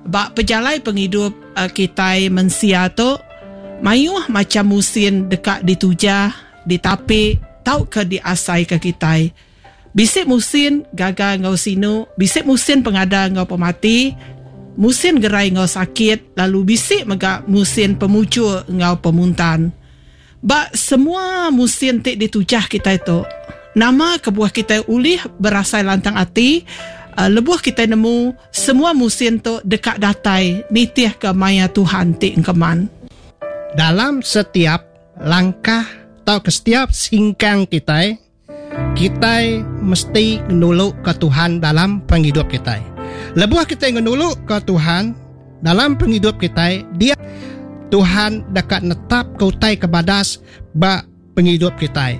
Ba pejalai pengidup kitai mensia tu, mayuh macham musin deka ditujah, ditapi tauka diasaika kitai. Bisi musin gaga enggau sinu, bisi musin pengada enggau pemati, musin gerai enggau sakit lalu bisi mega musin pemujur enggau pemuntan. Ba semua musin ti ditujah kitai tu, nama kebuah kitai ulih berasai lantang ati lebuh kitai nemu semua musin tu deka datai nitihka maya Tuhan ti engkeman? Dalam setiap langkah tauka setiap singkang kitai, Kitai mesti ngenuluka Tuhan dalam pengidup kitai. Lebuh kitai ngenuluka Tuhan dalam pengidup kitai, dia Tuhan deka netapka utai ke badas ba pengidup kitai.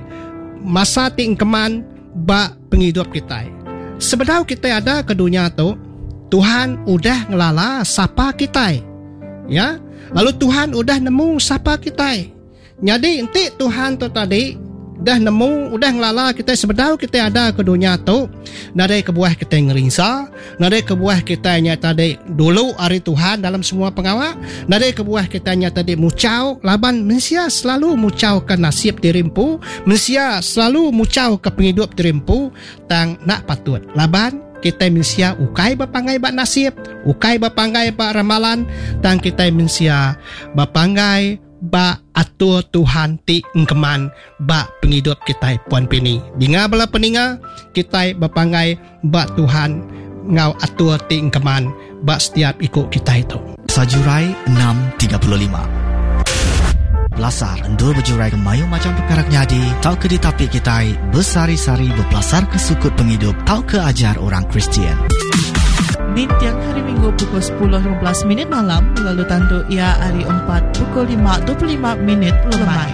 Masa ti engkeman ba pengidup kitai. Sebedau kitai ada ke dunya tu, Tuhan udah ngelala sapa kitai. Ya, lalu Tuhan udah nemu sapa kitai. Nyadi enti Tuhan tu tadi udah nemu udah ngelala kitai sebedau kitai ada ke dunya tu nadai kebuah kitai ngerinsa nadai kebuah kitai nya tadi dulu ari Tuhan dalam semua pengawa nadai kebuah kitai nya tadi muchau laban mensia selalu muchau ke nasib diri empu mensia selalu muchau ke pengidup diri empu tang enda patut laban kitai mensia ukai bepanggai ba nasib ukai bepanggai ba ramalan tang kitai mensia bepanggai Ba atur Tuhan ti engkeman ba pengidup kitai Puan Pini. Dinga bala peninga, kitai bepanggai ba Tuhan enggau atur ti engkeman ba setiap iku kitai tu. Sajurai 6:35. Pelasar endur bejurai ke mayuh macham pekara ke nyadi tauka ditapi kitai besehari-sehari bepelasarka sukut pengidup tauka ajar orang Kristian. Ninting Hari Minggu pukul 10:15 minit malam lalu tandu iya hari Empat pukul 5:25 minit lemai.